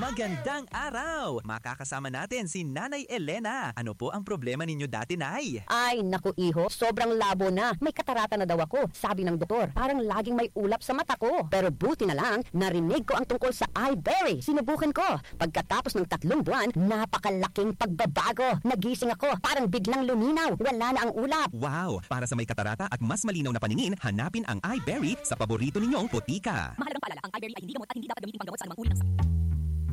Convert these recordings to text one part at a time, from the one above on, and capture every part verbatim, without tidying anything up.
Magandang araw! Makakasama natin si Nanay Elena. Ano po ang problema ninyo dati, Nay? Ay, naku, iho, sobrang labo na. May katarata na daw ako, sabi ng doktor. Parang laging may ulap sa mata ko. Pero buti na lang, narinig ko ang tungkol sa Iberry. Sinubukan ko. Pagkatapos ng tatlong buwan, napakalaking pagbabago. Nagising ako, parang biglang luminaw. Wala na ang ulap. Wow! Para sa may katarata at mas malinaw na paningin, hanapin ang Iberry sa paborito ninyong botika. Mahalagang paalala, ang Iberry ay hindi gamot at hindi dapat gamitin panggamot sa anumang uri ng sakit.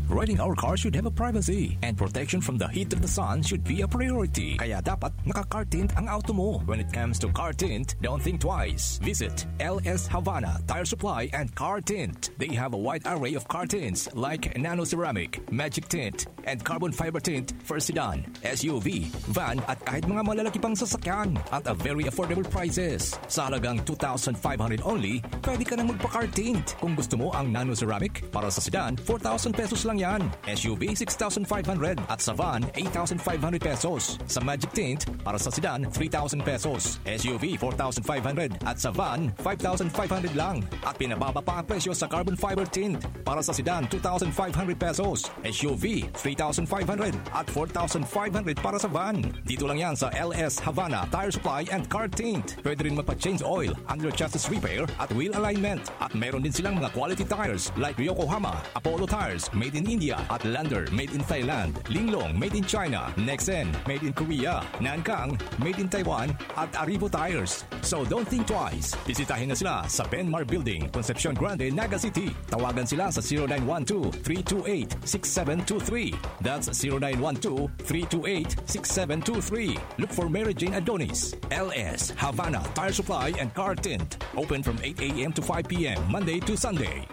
Riding our car should have a privacy, and protection from the heat of the sun should be a priority. Kaya dapat naka-car tint ang auto mo. When it comes to car tint, don't think twice. Visit L S Havana Tire Supply and Car Tint. They have a wide array of car tints like nano ceramic, magic tint, and carbon fiber tint for sedan, S U V, van at kahit mga malalaki pang sasakyan at a very affordable prices. Sa halagang two thousand five hundred only, pwede ka nang magpa-car tint. Kung gusto mo ang nano ceramic para sa sedan, four thousand pesos lang yan. S U V, six thousand five hundred at sa van, eight thousand five hundred pesos. Sa magic tint, para sa sedan, three thousand pesos. S U V, four thousand five hundred at sa van, five thousand five hundred lang. At pinababa pa ang presyo sa carbon fiber tint. Para sa sedan, two thousand five hundred pesos. S U V, three thousand five hundred at four thousand five hundred para sa van. Dito lang yan sa L S Havana Tire Supply and Car Tint. Pwede rin magpa-change oil, under chassis repair at wheel alignment. At meron din silang mga quality tires like Yokohama, Apollo Tires, made in India, at Lander, made in Thailand, Linglong, made in China, Nexen, made in Korea, Nankang, made in Taiwan, at Arrivo Tires. So don't think twice. Bisitahin na sila sa Benmar Building, Concepcion Grande, Naga City. Tawagan sila sa zero nine one two, three two eight, six seven two three. That's zero nine one two, three two eight, six seven two three. Look for Mary Jane Adonis, L S, Havana Tire Supply and Car Tint. Open from eight a m to five p m, Monday to Sunday.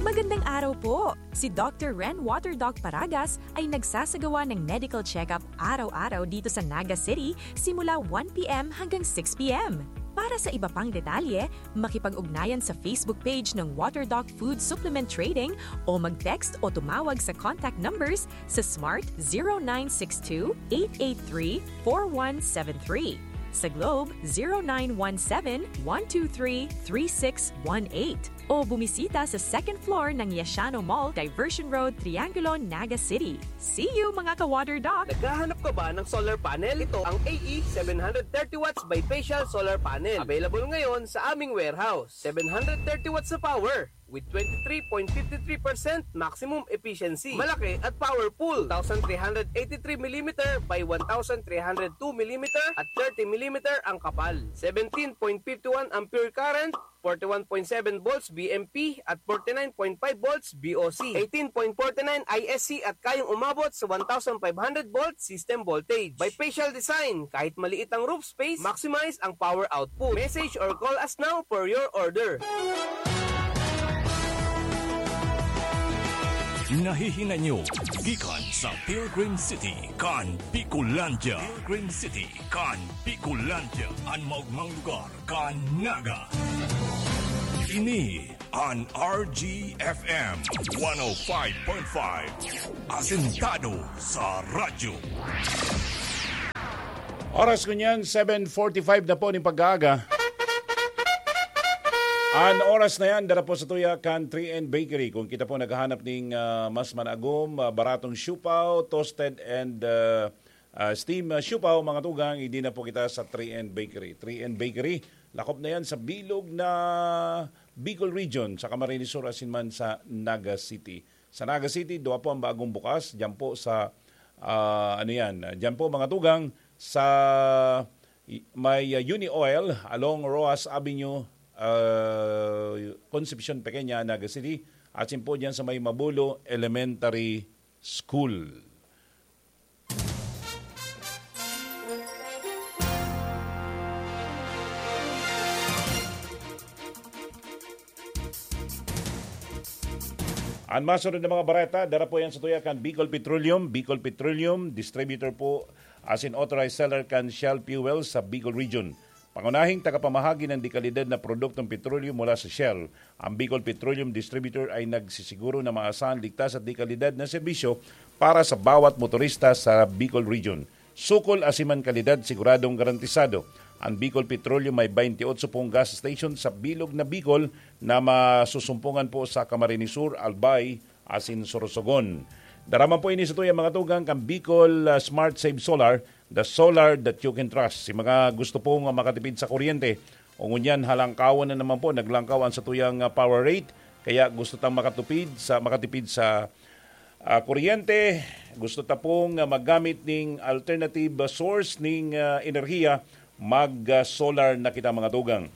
Magandang araw po! Si Doctor Ren Water Doc Paragas ay nagsasagawa ng medical check-up araw-araw dito sa Naga City simula one p m hanggang six p m. Para sa iba pang detalye, makipag-ugnayan sa Facebook page ng Water Doc Food Supplement Trading o mag-text o tumawag sa contact numbers sa Smart zero nine six two, eight eight three, four one seven three. Sa Globe, zero nine one seven, one two three, three six one eight. O bumisita sa second floor ng Yashano Mall, Diversion Road, Triangulo, Naga City. See you, mga ka-Water Doc! Naghahanap ka ba ng solar panel? Ito ang A E seven hundred thirty watts bifacial solar panel. Available ngayon sa aming warehouse. Seven hundred thirty watts na power with twenty-three point fifty-three percent maximum efficiency. Malaki at powerful. Two thousand three hundred eighty-three millimeter by one thousand three hundred two millimeter at thirty millimeter ang kapal. Seventeen point fifty-one ampere current, forty-one point seven volts B M P at forty-nine point five volts B O C, eighteen point forty-nine I S C at kayang umabot sa one thousand five hundred volt system voltage. Bifacial design, kahit maliit ang roof space, maximize ang power output. Message or call us now for your order. Nahihinay nyo gikan sa Pilgrim City kan Bicolandia. Pilgrim City kan Bicolandia, an maogmang lugar kan Naga. Ini an R G F M one oh five point five, asentado sa radyo. Oras ngunyan, seven forty-five na po ning pag-aaga. An oras na yan, dara po sa tuya kan three N Bakery. Kung kita po naghahanap ning, ah, mas managom, ah, baratong siopao, toasted and, ah, ah, steam, ah, siopao, mga tugang, hindi na po kita sa three N Bakery. Three N Bakery, lakop na yan sa bilog na Bicol Region, sa Camarines Sur, asin man sa Naga City. Sa Naga City, dua po ang bagong bukas, dyan po sa, ah, ano yan, dyan po, mga tugang, sa i-, may, ah, Uni Oil along Roxas Avenue, ah, Concepcion Pequeña, Naga City, asin po dyan sa may Mabulo Elementary School. An masunod na mga bareta, dara po yan sa tuya kan Bicol Petroleum. Bicol Petroleum, distributor po asin authorized seller kan Shell Fuel sa Bicol Region. Pangunahing tagapamahagi ng dekalidad na produktong petrolyo mula sa Shell, ang Bicol Petroleum Distributor ay nagsisiguro na maasahan, ligtas at dekalidad na serbisyo para sa bawat motorista sa Bicol Region. Sukol asin man kalidad siguradong garantisado. Ang Bicol Petroleum may twenty-eight pong gas station sa bilog na Bicol na masusumpungan po sa Camarines Sur, Albay, asin Sorsogon. Daraman po ini sa tuyang mga tugang kan Bicol, ah, Smart Save Solar, the solar that you can trust. Si mga gusto pong, ah, makatipid sa kuryente, o ngunyan halangkawan na naman po, naglangkaw ang satuyang, ah, power rate, kaya gusto tang makatupid sa, makatipid sa, ah, kuryente, gusto ta pong, ah, maggamit ning alternative, ah, source ning, ah, enerhiya, mag, ah, solar na kita, mga tugang.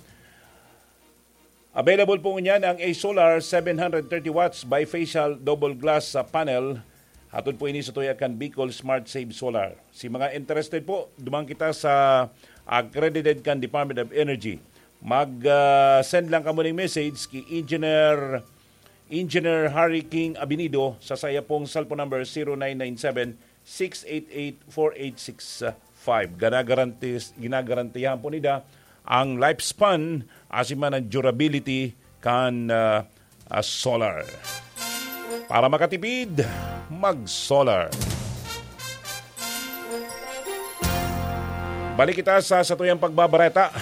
Available po ngunyan ang A Solar seven hundred thirty watts bifacial double glass sa panel. Hatod po ini sa tuya kan Bicol Smart Save Solar. Si mga interested po, duman kita sa accredited kan Department of Energy. Mag, ah, send lang kamo ning message ki Engineer, Engineer Harry King Abinido sa saya pong cellphone number zero nine nine seven six eight eight four eight six five. Ginagarantis-, ginagarantiyahan po nila ang lifespan, asin man ang durability kan, ah, ah, solar. Para makatipid, mag-solar. Balik kita sa satuyang pagbabareta.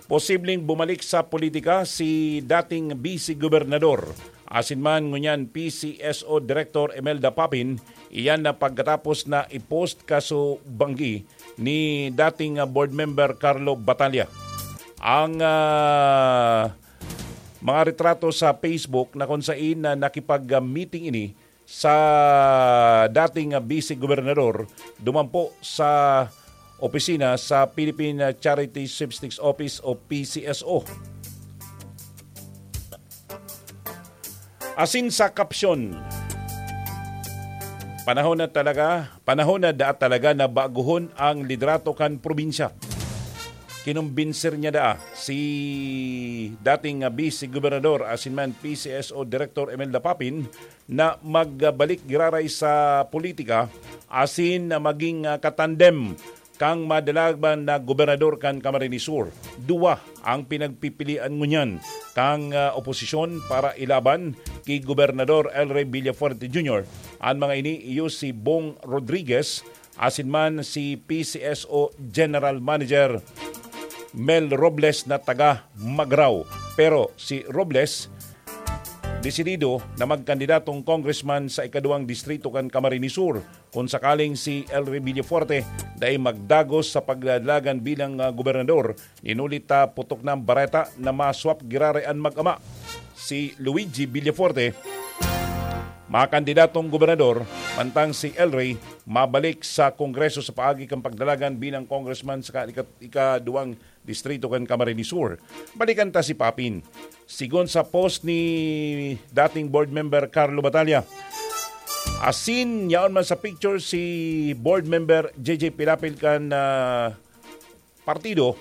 Posibleng bumalik sa politika si dating Vice Gobernador, asin man ngunyan P C S O Director Imelda Papin, iyan na pagkatapos na i-post kaso banggi ni dating, ah, board member Carlo Batalla. Ang, ah, mga retrato sa Facebook na kung sain na nakipag-meeting ini sa dating, ah, Vice Gobernador duman po sa opisina sa Philippine Charity Sweepstakes Office o P C S O. Asin sa caption, panahon na talaga, panahon na daa talaga na baguhon ang liderato kan probinsya. Kinumbinser niya daa si dating, ah, Vice Gobernador asin man P C S O Director Imelda Papin na magbalik giraray sa politika asin na maging, ah, katandem kang madalaban na gobernador kan Camarines Sur. Duwa ang pinagpipilian ngunyan kang, ah, oposisyon para ilaban ki Gobernador El Rey Villafuerte Junior. An mga ini iyo si Bong Rodriguez asin man si P C S O General Manager Mel Robles na taga Magrao. Pero si Robles desidido na magkandidatong congressman sa ikaduwang distrito kan Camarines Sur kung sakaling si El Rey Villafuerte dai magdagos sa pagdalagan bilang, ah, gobernador. Inulit ta putok na ang bareta na ma-swap giraray an mag-ama, si Luigi Villafuerte, makandidatong gobernador, mantang si El Rey mabalik sa Kongreso sa paagi kan pagdalagan bilang congressman sa ka-, ika-, ikaduwang distrito kan Camarines Sur. Balikan ta si Papin. Sigon sa post ni dating board member Carlo Batalla, asin yaon man sa picture si board member J J Pilapil kan, ah, partido,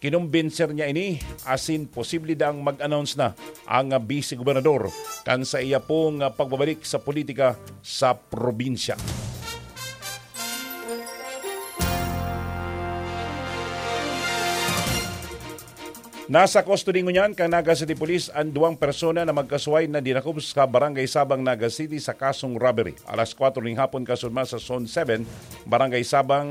kinumbinser niya ini asin posible daang mag-announce na ang, ah, vice gobernador kan sa iya pong, ah, pagbabalik sa politika sa probinsya. Nasa custody ngunyan kan Naga City Police an duwang persona na magkasuway na dinakop sa Barangay Sabang, Naga City sa kasong robbery. Alas kwatro ning hapon, kasunod sa Zone seven, Barangay Sabang,